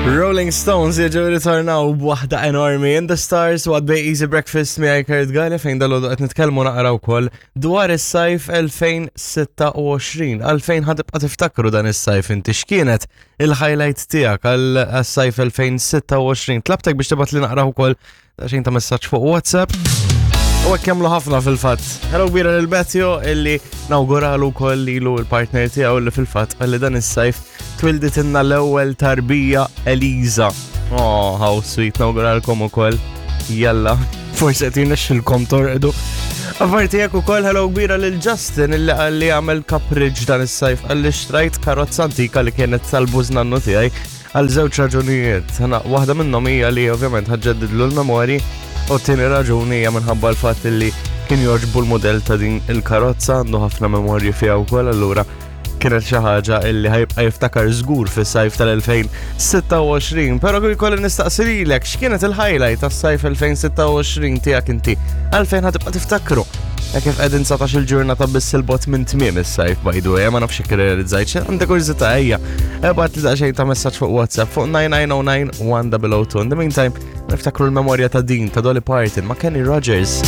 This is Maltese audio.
Rolling Stones jiġu ritornaw b'waħda enormi In the Stars u għaddej Easy Breakfast miegħi Kurt Gale fejn dal qed nitkellmu naqra wkoll dwar is-sajf 2026. Għalfejn ħa tibqa' tiftakru dan is-sajf inti x'kienet il-highlight tiegħek għal-sajf 2026. Tlabtek biex tibgħat li naqra wkoll Xejn ta' messaġġ fuq WhatsApp. U hekk jagħmlu ħafna fil-fatt. Hello kbira lil Matthew illi nawguralu wkoll lilu l-partner tiegħu li fil-fatt għalli dan is-sajf twilditilna l-ewwel tarbija Eliza. Oh, how sweet nawguralkom ukoll. Jalla, forsi qed jirnexxilkom torqdu. Apparti jekk ukoll hello kbira lil Justin illi qal li għamel kapriġ dan is-sajf għalli xtrajt karozza antika li kienet tal-bużnannu tiegħi Għal żewġ raġunijiet. Waħda minnhom hija li ovvjament ħaġġeddidlu l-memorji u t-tieni raġuni hija minħabba l-fatt li kien jogħġbu l-modell ta' din il-karozza għandu ħafna memorji fiha wkoll allura kienet xi ħaġa illi ħajbqa' jiftakar żgur fis-sajf tal-2026. Però jkolli nistaqsi lilek x'kienet il-highlight tas-sajf 2026 tiegħek inti għalfejn ħatibqa' tiftakru. Hekk kif qegħdin 19 il-ġurnata biss il-bot minn tmiem is-sajf by the way, ma nafx jekk irrealizzajt għandek kurżità ejja. Ebgħat li daqsxejn ta' messaġġ fuq WhatsApp fuq 9909 1002. In the meantime, niftakru l-memorja ta' din ta' Dolly Parton ma' Kenny Rogers.